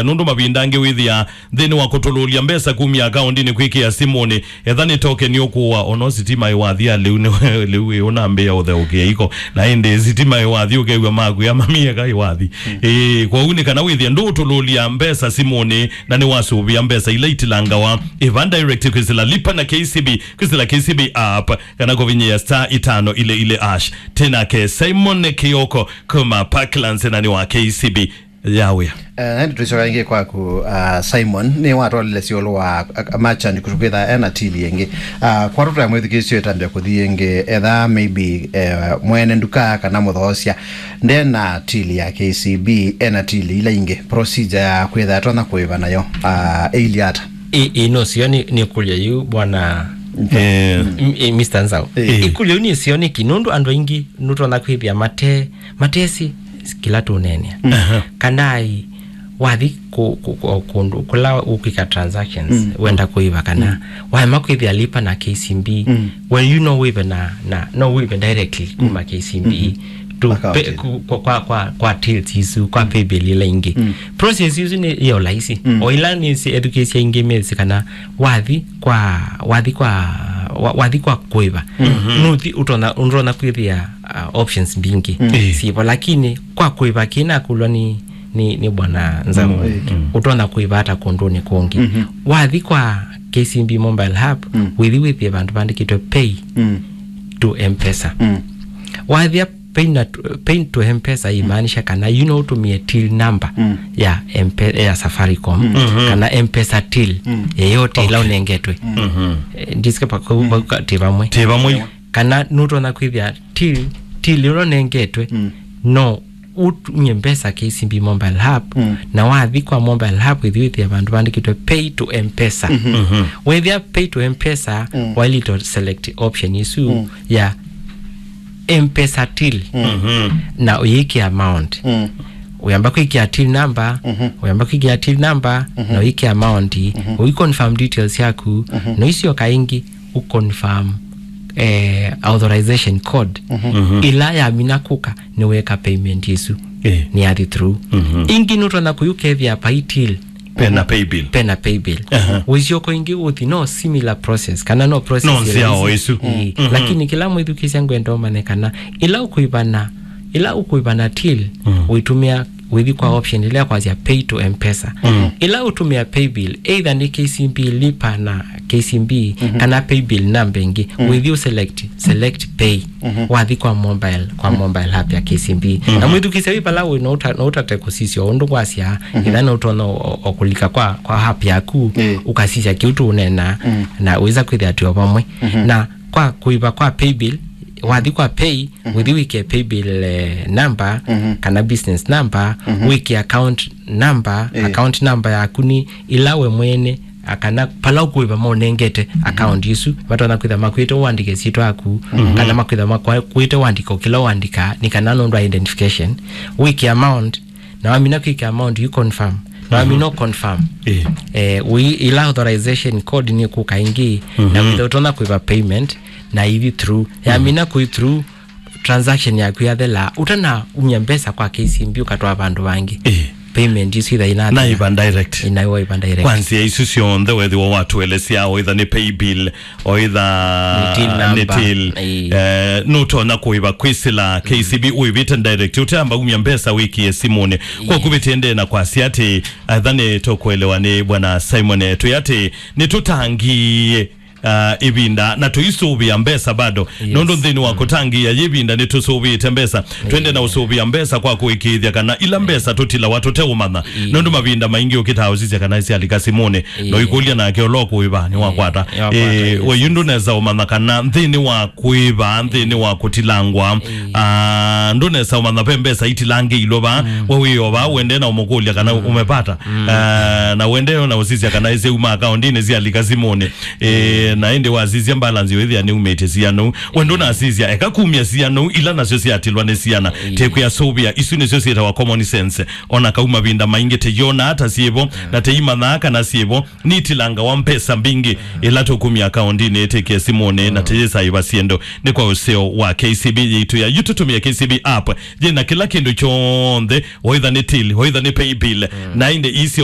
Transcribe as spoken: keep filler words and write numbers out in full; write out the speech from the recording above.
Nũndũ mavinda angĩ wĩthĩaa nthĩnĩ wa kũtũlũlya mbesa kumya akaũndinĩ kwĩkĩa simũnĩ, etha nĩ tokeni ũkũa, ona sitima ĩwathi ya lĩu nĩ lĩu ĩ ũnambĩĩa ũtheũkĩa iko, na ĩndĩ sitima ĩwathi ũkew'a makwĩa mamieka ĩwathi. Ĩĩ, kwoou nĩ kana wĩthĩe ndũũtũlũlya mbesa simũnĩ na nĩwasũvĩa mbesa ila itilangawa ĩva direct kwĩsĩla Lipa na K C B, kwĩsĩla K C B app, kana kũvinyĩa star itano ile ile hash. Tinake Simon Kioko kuma Parklands na nĩ wa K C B. Ya wĩa. Eh, nandi tũicoka ĩngĩ kwaku, uh, Simon, nĩ watwalile syũlũ wa, uh, merchant kũtũkwĩtha ena tili ĩngĩ. Uh, kwa tũtaya mwĩthukĩĩsyo ĩtambya kũthi ĩngĩ, etha maybe, eh, mwene nduka kana mũthoosya ndena tili ya K C B, ena tili ila ingĩ, procedure ya kwĩtha atonya kũĩva nayo, uh, ĩilyĩ ata? Ĩ, ĩ, no sio nĩ, nĩ kũlya yu, bwana, eh, m-, ĩ, Mister Nzau. Eh. Ĩ, kũlya yu nĩ sio nĩkĩ, nũndũ andũ aingĩ nũtonya kwĩthĩa mate, matesĩ kĩla tũneenea. Aha. Kana ĩ, wathi kũ-, kũ-, kũ-, kũndũ kũla ũkwĩka transactions, mm, wenda kũĩva kana, mm, waema kwĩthĩa Lipa na K C B, mm, well, you know wĩve na, na, no wĩve directly kuma, mm, K C B, mm-hmm, to account, pe-, ku-, kwa, kwa, kwa, kwa tills isu, kwa, mm, paybill ila ingĩ. Mm. Process isu nĩ ya ũlaisi. Mm. O ila nĩ si-, ethukĩĩsya ingĩ mesi kana wathi kwa, wathi kwa, wa-, wathi kwa kũĩva. Mm-hmm. Nuthi ũtonya, ũtonya kwĩthĩa, uh, options mbingĩ. Mm. Eh. Sivo, lakini kwa kũĩva kĩna kũlwa nĩ, nĩ, nĩ bwana Nzau. Mm. Ũtonya kũĩva ata kũndũnĩ kũngĩ. Mm-hmm. Wathi kwa K C B mobile app, mm, wĩthi wĩthĩe vandũ vandĩkĩtwe pay, mm, to M-Pesa. Mm. Wathĩa pay na, pay to M-Pesa imaanisha kana you know ũtũmĩe till number, mm, ya M-Pe-, ya Safaricom, mm, mm-hmm, kana M-Pesa till, mm, yeyote ĩla, okay, ũnengetwe. Mm-hmm. Eh, ndisike pa-, mm, ti vamwe. Ti vamwe. Kana nũtonya kwĩthĩa till, till ĩla ũnengetwe, mm, no ũtũmĩe mbesa K C B mobile app, mm, na wathi kwa mobile app, wĩthi wĩthĩa vandũ vandĩkĩtwe pay to M-Pesa. Mm-hmm. Mm-hmm. Wethĩa pay to M-Pesa, mm, waĩlĩte select option isu, mm, ya M-Pesa till, mm-hmm, na ũyĩkĩa amount. Mm. Ũyamba kwĩkĩa till number, mm-hmm, ũyamba kwĩkĩa till number, mm-hmm, na ũyĩkĩa amount, mm-hmm, ũiconfirm details yaku, mm-hmm, na ũisyoka ĩngĩ ũconfirm, eh, authorization code. Mhm. Mhm. Ĩla yamina kũka, nĩweka payment ĩsu. Eh. Nĩyathi through. Mhm. Ĩngĩ nũtonya kũthi ũkethĩa pai till. Pena paybill. Pena paybill. Aha. Wĩsyoka ĩngĩ ũthi, no similar process, kana no process. No nzĩa ĩla o ĩsu. Ĩĩ. Mhm. Lakini kĩla mwĩthukĩĩsya ngwenda ũmanye kana ĩla ũkũĩvana, ĩla ũkũĩvana till, mm, ũitũmĩa wĩthi kwa option ĩla kwasya pay to M-Pesa. Mm. Ĩla ũtũmĩa paybill, either nĩ K C B Lipa na K C B, mhm, kana paybill number ĩngĩ, mm, wĩthi ũselect, select pay, mhm, wathi kwa mobile, kwa, mm, mobile app ya K C B. Mhm. Na mwĩthukĩĩsya wĩ vala wĩ, no ũta-, no ũtate kũsisya ũndũ kwasya, mhm, ĩla no ũtonya o, o, o kũlika kwa, kwa app yaku, ĩĩ, ũkasisya kĩu tũũneena, mm, na wĩsa kwĩthĩa twĩ o vamwe. Mhm. Na kwa kũĩva kwa paybill, wathi kwa pay, mhm, wĩthi wĩkĩe paybill, eh, number, mhm, kana business number, mhm, wĩkĩe account number, ĩĩ, account number yaku nĩ ĩla we mwene, a, kana pala ũkũĩva maũnengete, mhm, account ĩsu, matonya kwĩtha makwĩte ũandĩke syĩtwa yaku, mhm, kana makwĩtha makwĩte ũandĩka o kĩla ũandĩka, nĩ kana nũndũ wa identification, wĩkĩe amount, na wamina kwĩkĩa amount, you confirm. Na wamina, mhm, confirm. Eh. Eh, we, ila authorization code nĩ kũka ĩngĩ, na, mhm, wĩtha ũtonya kwĩva payment, na ithi through. Yamina, mhm, kwĩ through, transaction yaku yathela, ũtana umya mbesa kwa K C B ũkatwaa vandũ vangĩ. Eh. Payment isu itha ina, na iva direct. Ina iva direct. Kwa nzĩa isu syonthe wethĩwa watũelesya, o itha nĩ paybill, o itha nĩ till number. Nĩ till. Ĩĩ. Eh, nũtonya kũĩva kwĩsĩla K C B, mm, ũĩvĩte direct, ũteamba umya mbesa wĩkĩe simũnĩ. Kwa, ĩĩ, kũvĩtĩe ndena kwasya atĩ, etha nĩ tũkũelewa nĩ Bwana Simon, eh, twĩ atĩ nĩ tũtangie, ah, ĩvinda na tũisũvĩa mbesa bado. Yes. Nũndũ nthĩnĩ wa, mm, kũtangĩĩa yĩvinda nĩ tũsũvĩĩte mbesa. Twende na, ĩĩ, ũsũvĩa mbesa kwa kũĩkĩĩthya kana ila, ĩĩ, mbesa tũtilawa tũteũmanya. Ĩĩ. Nũndũ mavinda maingĩ ũkĩtaa ũsisya kana syalika simũnĩ, ĩĩ, no ikũlya nake ũla ũkũĩva nĩwakwata. Ĩĩ, nĩwakwata, ĩĩ, yes, we yu, yes, ndũnesa ũmanya kana nthĩnĩ wa kũĩva, nthĩnĩ wa kũtilangwa, ĩĩ, ah, ndũnesa ũmanya ve mbesa itilangĩilwe va, mm, we wĩo va, wende na ũmũkũlya kana, mm, ũmepata. Mm. Ah, na wende na ũsisya kana ĩsyauma akaũndinĩ syalika simũnĩ. Eh, na ĩndĩ wasisya balance yo ĩthĩa nĩumĩte siana ũu. We ndũnasisya, eka kumya siana ũu, ila nasyo syatilwa nĩ siana. Ĩĩ. Tekwĩa sũvĩa, isu nĩsyo syĩtawa common sense. Ona kau mavinda maingĩ teyona ata syĩvo, mm, na teimanyaa kana syĩvo, nitilangawa mbesa mbingĩ, mm, ila tũkumya akaũndinĩ ĩtĩkĩe simũnĩ, na, mm, teyĩsaĩva syĩndũ. Nĩ kwa ũseo wa K C B yitũ ya yu, tũtũmĩe K C B app. Yĩna kĩla kĩndũ kyonthe, oitha nĩ till, oitha nĩ paybill, mm, na ĩndĩ isyo